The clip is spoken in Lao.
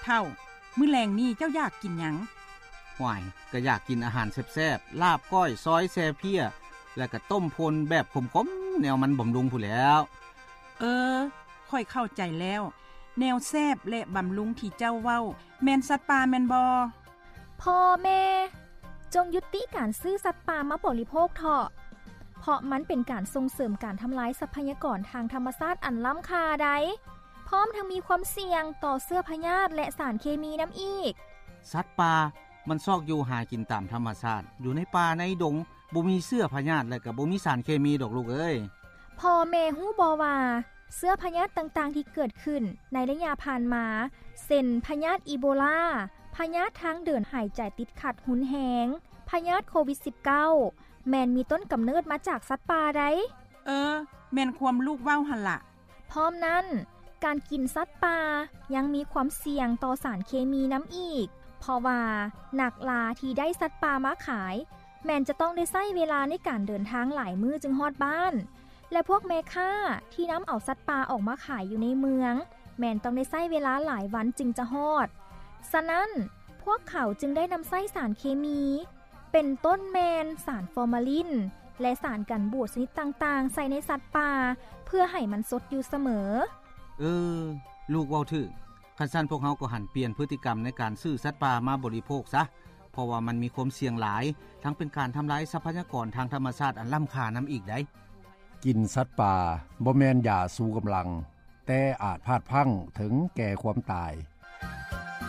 ເຖົ້າ, ມື້ແລງນີ້ເຈົ້າຢາກກິນຫຍັງ? ຫວາຍ, ກໍຢາກກິນອາຫານແຊບໆ, ລາບກ້ອຍ, ຊອຍ, ແຊ່ເພ້ຍ ແລະກໍຕົ້ມໂພນແບບຂົມໆ ແນວມັນບຳລຸງພຸ້ນແຫຼ້ວ. ເອີ, ຂ້ອຍເຂົ້າໃຈແລ້ວ. ແນວແຊບ ແລະ ບຳລຸງທີ່ເຈົ້າເວົ້າ ແມ່ນສັດປ່າແມ່ນບໍ່? ພໍ່ແມ່, ຈົ່ງຢຸດຕິການຊື້ສັດປ່າມາບໍລິໂພກເຖາະ, ເພາະມັນເປັນການສົ່ງເສີມການທຳລາຍຊັບພະຍາກອນທາງທຳມະຊາດອັນລ້ຳຄ່າໃດ໋, ພ້ອມທັງມີຄວາມສ່ຽງຕໍ່ເຊື້ອພະຍາດ ແລະ ສານເຄມີນຳອີກ. ສັດປ່າມັນຊອກຢູ່ຫາກິນຕາມທຳມະຊາດ, ຢູ່ໃນປ່າໃນດົງ, ບໍ່ມີເຊື້ອພະຍາດ ແລະ ກໍບໍ່ມີສານເຄມີດອກລູກເອີຍ. ພໍ່ແມ່ຮູ້ບໍ່ວ່າ ເຊື້ອພະຍາດຕ່າງໆທີ່ເກີດຂຶ້ນໃນໄລຍະຜ່ານມາ ເຊັ່ນ ພະຍາດອີໂບລາ, ພະຍາດທາງເດີນຫາຍໃຈຕິດຂັດຮຸນແຮງ, ພະຍາດໂຄວິດສິບເກົ້າ ແມ່ນມີຕົ້ນກຳເນີດມາຈາກສັດປ່າໃດ໋. ເອີ, ແມ່ນຄວາມລູກເວົ້າຫັ້ນລະ. ພ້ອມນັ້ນ, ການກິນສັດປ່າຍັງມີຄວາມສ່ຽງຕໍ່ສານເຄມີນຳອີກ, ເພາະວ່ານັກລ່າທີ່ໄດ້ສັດປ່າມາຂາຍ ແມ່ນຈະຕ້ອງໄດ້ໃຊ້ເວລາໃນການເດີນທາງຫຼາຍມື້ຈຶ່ງຮອດບ້ານ ແລະ ພວກແມ່ຄ້າທີ່ນຳເອົາສັດປ່າອອກມາຂາຍຢູ່ໃນເມືອງ ແມ່ນຕ້ອງໄດ້ໃຊ້ເວລາຫຼາຍວັນຈຶ່ງຈະຮອດ. ສະນັ້ນ, ພວກເຂົາຈຶ່ງໄດ້ນຳໃຊ້ສານເຄມີ ເປັນຕົ້ນແມ່ນສານຟໍມາລິນ ແລະ ສານກັນບູດຊະນິດຕ່າງໆ ໃສ່ໃນສັດປ່າ ເພື່ອໃຫ້ມັນສົດຢູ່ສະເໝີ. ເອີ, ລູກເວົ້າຖືກ. ຄັນຊັ້ນພວກເຮົາກໍຫັນປ່ຽນພຶດຕິກຳໃນການຊື້ສັດປ່າມາບໍລິໂພກຊະ, ເພາະວ່າມັນມີຄວາມສ່ຽງຫຼາຍ, ທັງເປັນການທຳລາຍຊັບພະຍາກອນທາງທຳມະຊາດອັນລ້ຳຄ່ານຳອີກໃດ໋. ກິນສັດປ່າບໍ່ແມ່ນຢາຊູກຳລັງ, ແຕ່ອາດພາດພລັ້ງເຖິງແກ່ຄວາມຕາຍ.